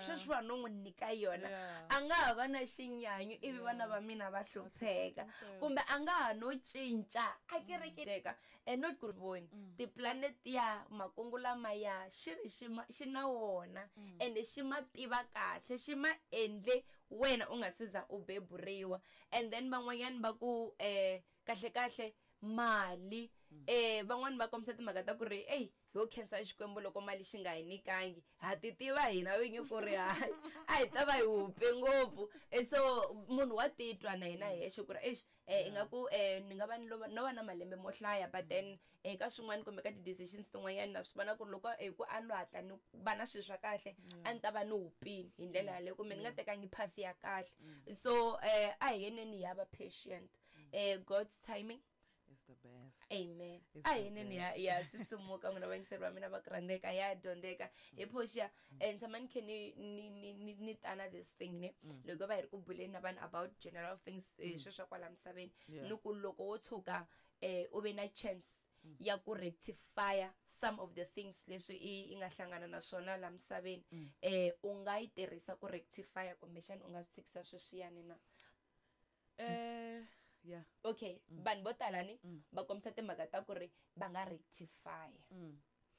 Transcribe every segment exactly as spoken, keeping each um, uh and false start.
Sweswiwa no n'wi nyika yona, Yeah. a nga ha va na xinyanyu ivi vana va mina va hlupheka, kumbe a nga ha no cinca a kereketeka. And not ku ri voni tiplanet ya makungu lamaya xi ri xi ma- xi na wona, ende xi ma tiva kahle, xi ma endle wena u nga se za u beburiwa. And then van'wanyani va ku um kahle kahle mali, eh van'wani va kombisa timhaka ta ku ri eyi, ho khensa Xikwembu loko mali xi nga hi nyikangi, ha ti tiva hina vinyi ku ri hayi, a hi ta va hi hupe ngopfu. Eh, so munhu wa titwa na hina hexe ku ri exi, eh ingaku eh ni nga va ni lova- no va na malembe mo hlaya, but then eh ka swin'wana kumbe ka ti-decisions tin'wanyana na swi vona ku ri loko eh ku a ni lo hatla ni va na swilo swa kahle, a ni ta va ni hupini hi ndlela yaleyo, kumbe ni nga tekangi path ya kahle. So eh a hi yeneni hi ya va patient, eh God's timing is the best. Amen. It's A the hi neni ya ya sisimuka, n'wina vayingiseri va mina va ku rhandzeka, ya dyondzeka hi Portia. eh ni tshama ni khe ni ni ni ni ni tana this thing ne, loko va hi ri ku buleni na vanhu about general things, eh, sweswo swa kwala misaveni. Yeah. Ni ku loko wo tshuka eh u ve na chance ya ku rectify some of the things leswi i i nga hlangana na swona la misaveni, eh u nga yi tirhisa ku rectify, kumbexana u nga swi tshikisa sweswiyani na? Eh yeah. Okay, vanhu vo tala ni va kombisa timhaka ta ku ri va nga rectify,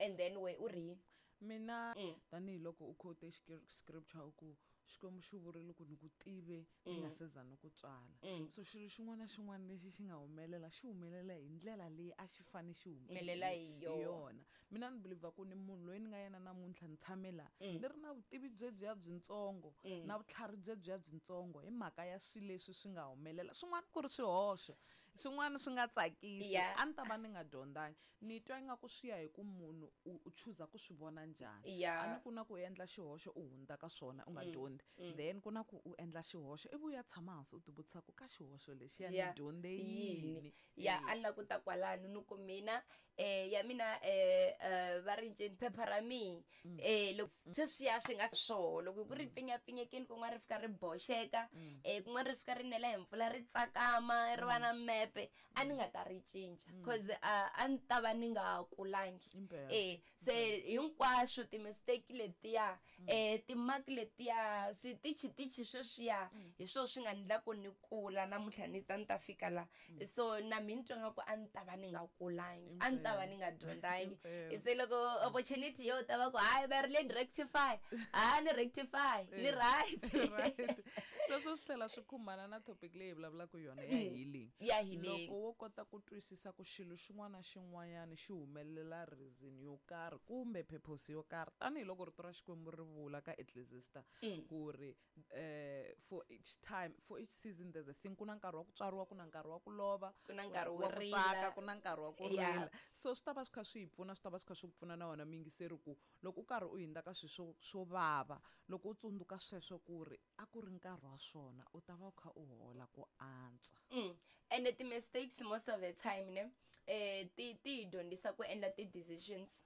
and then we u ri yini? Mina, Mm. tanihiloko u quote xikri- scripture, u ku Xikwembu xi vurile ku ni ku tive ni nga se za ni ku tswala. Mm. So xilo xin'wana na xin'wana lexi xi nga humelela, xi humelela hi ndlela leyi a xi fane xi humelela hi yona. Yona. Mina ni believer ku ni munhu loyi ni nga yena namuntlha, ni tshame laha Mm. ni ri na vutivi byebyiya byintsongo na vutlhari byebyiya byintsongo hi mhaka ya swilo leswi swi nga humelela. Swin'wana ku ri swihoxo, swin'wana swi nga tsakisi, Yeah. a ni ta va ni nga dyondzangi. Ni twa ingaku swi ya hi ku munhu u u chuza ku swi vona njhani. Yeah. A ni ku na ku endla xihoxo u hundza ka swona u nga dyondzi, then ku na ku u endla xihoxo ivi u ya tshama hansi u ti vutisa ku ka xihoxo lexiya ni Yeah. dyondze yini? Yini? Ya, a ni la ku ta kwalano, ni ku mina eh ya mina eh eh, va ri ncini, phepha ra mihi, eh loko sweswiya swi nga swoho, loko ku ri pfinyapfinyekini kun'wana ri fika ri boxeka, eh kun'wana ri fika ri nela hi mpfula ri tsakama ri va na mepe, a ni nga ta ri cinca, cause a a ni ta va ni nga kulangi. Impela. Eh se hinkwaswo ti-mistake letiya, eh ti-mark letiya, switichitichi sweswiya, hi swona swi nga ndla ku ni kula namuntlha, ni ta ni ta fika la. So na mina ni twa nga ku a ni ta va ni nga kulangi, a ni ta va ni nga dyondzangi. Impela. Se loko opportunity yo ta va ku hayi, va ri le ni rectify, ha ni rectify ni right. Right, sweswo swi tlhela swi khumbana na topic leyi hi vulavulaka yona ya healing. Ya healing. Loko wo kota ku twisisa ku xilo xin'wana na xin'wanyana xi humelela reason yo karhi kumbe purpose yo karhi, tanihiloko rito ra Xikwembu ri vula ka Ecclesiastes ku ri eh for each time, for each season there's a thing. Ku na nkarhi wa ku tswariwa, ku na nkarhi wa ku lova, Ku na nkarhi wo wa ku rila. tsaka, ku na nkarhi wa ku Yeah. rila. So swi ta va swi kha swi hi pfuna, swi ta va swi kha swi ku pfuna na wona miyingiseri ku loko u karhi u hundza ka swilo swo swo vava, loko u tsundzuka sweswo ku ri a ku ri nkarhi wa swona, u ta va u kha u hola ku antswa. Mm. And the mistakes most of the time ne, eh ti ti hi dyondzisa ku endla ti-decisions.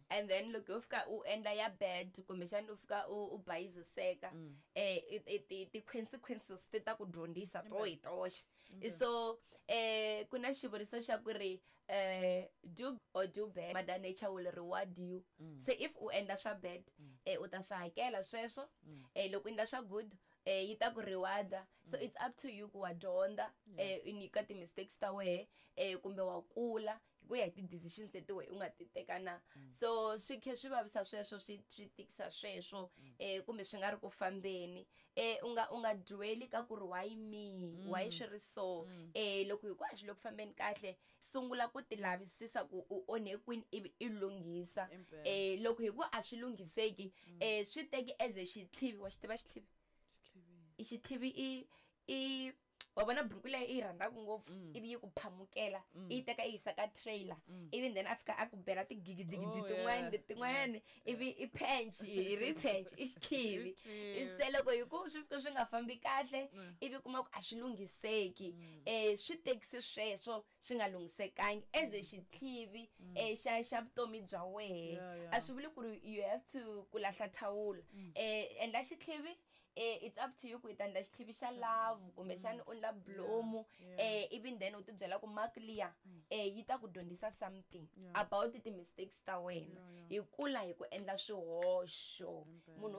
And then loko u fika u endla ya bad, kumbexana u fika u u bayiziseka, eh i- i- ti ti-consequences ti ta ku dyondzisa to hi toxe. So eh ku na xivuriso xa ku ri eh do or do bad, mother nature will reward you. Se if u endla swa bad, eh u ta swi hakela sweswo. eh loko u endla swa good, eh yi ta ku rewarda. So it's up to you ku wa dyondza eh i nyika ti-mistakes ta wehe, eh kumbe wa kula hi ku ya hi ti-decisions leti wehe u nga ti teka na. So swi khe swi vavisa sweswo, swi swi tikisa sweswo, eh kumbe swi nga ri ku fambeni, eh u nga u nga dweli ka ku ri why me, why swi ri so. eh loko hinkwaswo loko fambeni kahle, sungula ku ti lavisisa ku u onhe kwini ivi i lunghisa. Impela. eh loko hi ku a swi lunghiseki, eh swi teki as a xitlhivi. Wa xi tiva xitlhivi? I xitlhivi i i wa vona buruku leyi i yi rhandzaka ngopfu, ivi yi ku phamukela, i yi teka i yisa ka trailer, ivi then a fika a ku bela tigigidigidi Oh, tin'wani yeah. letin'wani, ivi i pench hi ri pench, i xitlhivi. Xitlhivi. Se loko hi ku swi fika swi nga fambi kahle, ivi kuma ku a swi lunghiseki, eh swi tekisi sweswo swi nga lunghisekangi as a xitlhivi eh xa xa vutomi bya wehe. Yeah, yeah. A swi vuli ku ri you have to ku lahla thawula. eh endla xitlhivi, eh it's up to you ku i ta endla xitlhivi xa love kumbexana u endla blomu, Yeah. eh ivi then u ti byela ku mark liya eh yi ta ku dyondzisa something Yeah. about ti-mistakes ta wena. Yeah, yeah. Hi kula hi ku endla swihoxo. Impela. Munhu